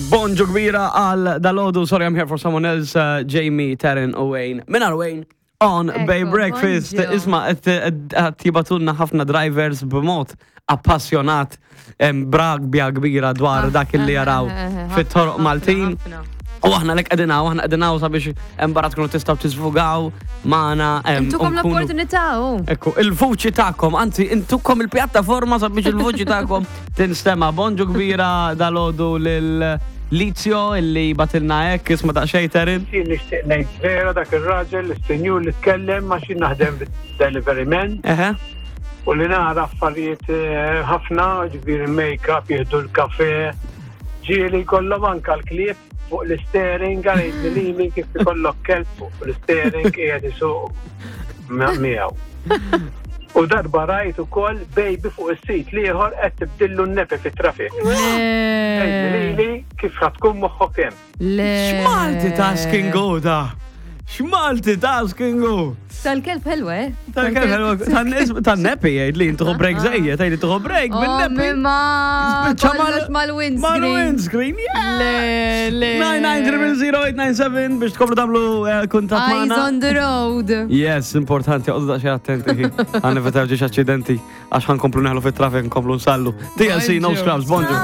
Bonġu kbira għal dalodu, sorry I'm here for someone else, uh, Jamie, Taryn u Wayne. Minar Wayne, on Bay Breakfast. Isma, qed jibatulna ħafna drivers b'mod appassjonat bragbja kbira dwar ah, dak li jaraw eh, eh, eh, fit-toroq Maltin. U aħna lek qegħdin hawn, aħna qegħdin hawn sabiex hemm barra tkunu tistgħu tiżvugaw magħna. Intukom l-opportunità. Ekku, il-vuċi tagħkom, anzi intukom il-pjattaforma sabiex il-vuċi tagħkom tinstema. Bonġu kbira dalodu lil Lizio illi batilna hekk isma' daqsxejn Terin. Jien nixtieq ngħid vera dak ir-raġel, is-sinjur li tkellem ma xi naħdem bid-delivery man. U li nara affarijiet eh, ħafna, ġifieri make-up, jieħdu l-kafe, ġieli jkollhom anka l-klieb fuq l-steering, għalejt li li kif ikollok kelb fuq l-steering qiegħed isuq miegħu. U darba rajt ukoll baby fuq is-sit l-ieħor qed tibdillu n-nepi fit-traffic. Lili kif tkun moħħok hemm. Le. X'multitasking hu da? X'multitasking hu? Tal-kelb ħelwa, eh? Tal-kelb ħelwa. Tan-nepi jgħid li jintuħu break ah. żejjed, jgħid li tuħu break oh, bin-nepi. Ma kollox mal-windscreen. Mal-windscreen, yeah! Le, le. 9900897 biex tkomplu tagħmlu eh, kuntatt magħna. Eyes on the road. Yes, importanti, għoddu daqsxejn attenti. Għan nevitaw ġiex aċċidenti għax ħankomplu neħlu fit-traffic nkomplu nsallu. TLC, no scrubs, bonġu.